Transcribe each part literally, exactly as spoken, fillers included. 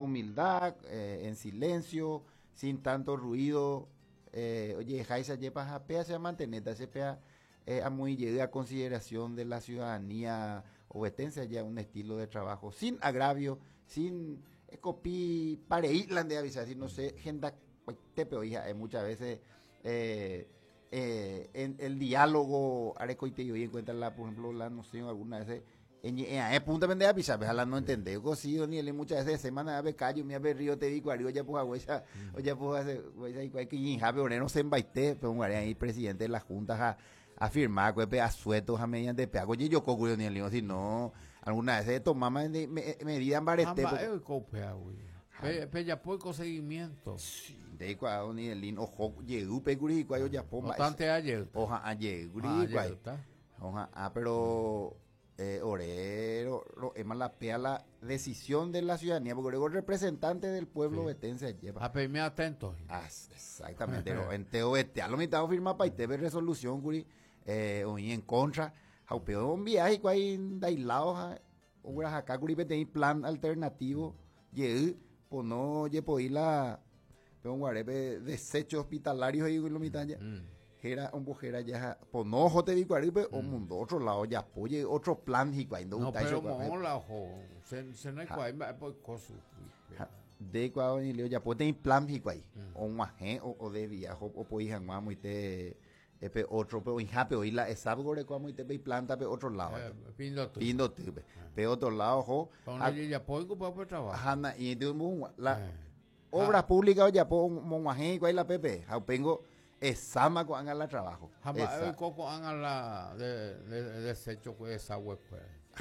Humildad, eh, en silencio, sin tanto ruido. Eh, oye, jaisa yepa japea se manteneta, se pea eh, a muy a consideración de la ciudadanía ovetense ya un estilo de trabajo sin agravio, sin copi pareitlan de avisar, si no sé, gente tepe hija, eh, muchas veces eh, eh, en el diálogo arecoite y encuentra la, por ejemplo, la noción alguna veces en eh, punta de avisar, la no entendé, sí, ni él muchas veces semana de callo, mi ave río te digo, ya pues huella, o ya pues hace, huella y que jabe oreno se embaite, pero un ahí presidente de la junta a afirmar que asuetos a mediante peago y yo coco ni el si no alguna vez toma medida en barete. Pe ya poco seguimiento. Sí, de cuando ni el ojo llegó pe guri cuando ya pomba. Bastante ayer. Oja ayer guri Oja, ah, pero eh, orero, lo, es más la pea la decisión de la ciudadanía, porque luego el representante del pueblo vetense lleva. A pedirme atento. Ah, exactamente, lo enteo vete, a lo mitad firma pa y resolución guri eh, o en contra, jaupeo un viaje cuai dailao un acá guri pete plan alternativo, ye po no ye po la pe un guarepe desecho hospitalarios ahí lo mitad ya. Era un bujera ya po no jote vi cuaripe o mundo otro lado ya poye otro plan y cuando no pero mola ojo se se no hay cuai por cosu de cuando ni leo ya po ten plan y cuai o un o o de viajo o po hija muy te epe otro pe oinjape oí la esabgo de cuamo y te pe planta pe otro lado pindo pindo pe pe otro lado jo ya po pa trabajo jana y de un la obra pública o ya po monguaje cuai la pepe jaupengo esama con la trabajo esa coco la de de desecho esa web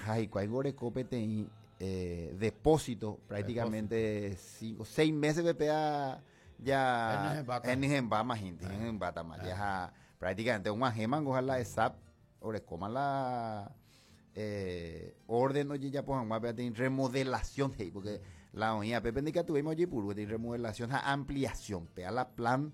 ay cuai gore copete eh depósito prácticamente cinco seis meses pepe ya en en más gente en bata más ya prácticamente un ajeman ojalá esa ore coma la eh orden oye ya pues remodelación hey, porque la oña pepe ni que tuvimos oye puro de remodelación a ampliación pe a la plan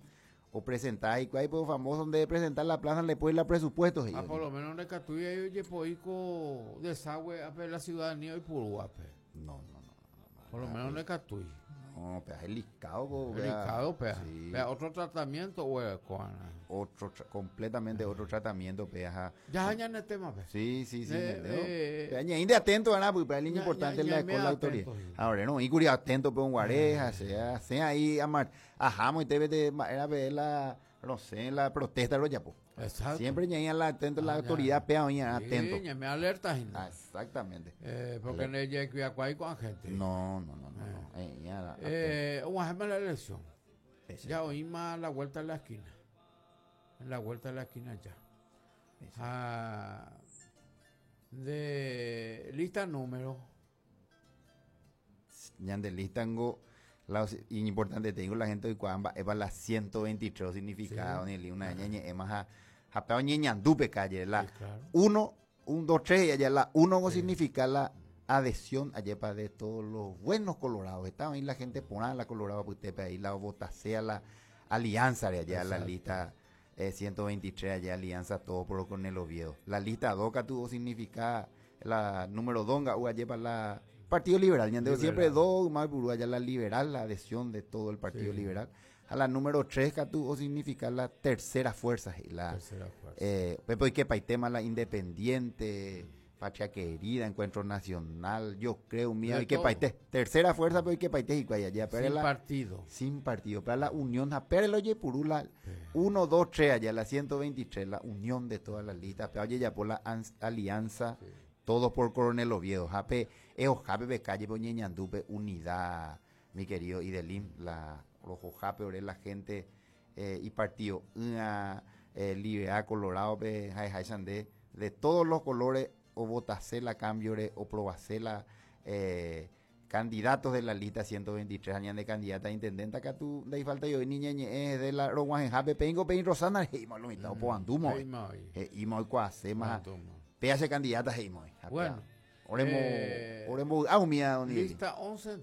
o presentar y cuál pues famoso donde presentar la plaza le puede la presupuesto ah, por lo menos de catuya y oye poico desagüe a la ciudadanía y puro no no no por lo menos de catuya no, pero es licado, licado, pero sí. Otro tratamiento o otro completamente otro tratamiento, peja. Ya añade el tema, pe. Sí, sí, sí. Eh, eh, de atento, ¿verdad? Porque para el importante es la con la autoridad. Ahora no, y curia atento pe un guareja, sea, sea ahí amar, ajá, muy te de era ver la no sé, la protesta lo ya po. Exacto. Siempre ña la atento la autoridad pea oña atento. Sí, me alerta. Ah, exactamente. Eh, porque no hay que cuidar con gente. No, no, no, no. no. Eh, ya, eh, un ejemplo la elección. Ya oímos la vuelta de la esquina. En la vuelta de la esquina ya. Ah, de lista número. Ya de lista la importante tengo la gente de Cuamba es para la ciento veintitrés significado ni una ñeñe es más a ñeñandupe calle la uno un dos tres y allá la uno significa la adhesión allá para de todos los buenos colorados estaba ahí la gente pone la colorado pues usted ahí la votacea la alianza de allá la lista eh, ciento veintitrés allá alianza todo por con el Oviedo la lista dos que tuvo significa la número dos o allá para la Partido Liberal, ñandeo siempre dos, más allá la liberal, la adhesión de todo el Partido sí. Liberal. A la número tres, que tuvo significa la tercera fuerza. La, tercera fuerza. Eh, pues que paitema la independiente, Patria Querida, Encuentro Nacional, yo creo, mía, y que paite, tercera fuerza, pero que paite y allá. Pero sin la, partido. Sin partido, pero la unión, pero el oye purula, uno, dos, tres, allá, la ciento veintitrés, la unión de todas las listas, pero oye ya por la alianza. Sí. Todos por Coronel Oviedo. Jape, eo jape be calle ñandupe unidad, mi querido Idelín, la rojo jape ore la gente eh, y partido una eh, liberal colorado pe jai jai sande de todos los colores o votacela cambio o probacela eh, candidatos de la lista ciento veintitrés años de candidata a intendente acá tú de ahí falta yo niña es de la roguaje jape pengo pein Rosana y malo mitad o po andumo y mo cuase más P H candidata heimo. Bueno. Oremo eh, oremo ah mía don lista once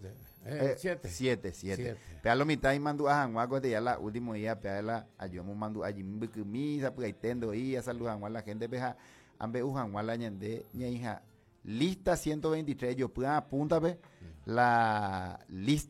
eh, siete. siete siete. Pe lo mitad y mandu a Janguaco de ya la último día pe la ayumo mandu allí misa pues tendo y a salud a la gente peja ambe ujanguá la ñande ña hija lista ciento veintitrés yo pueda apúntame la lista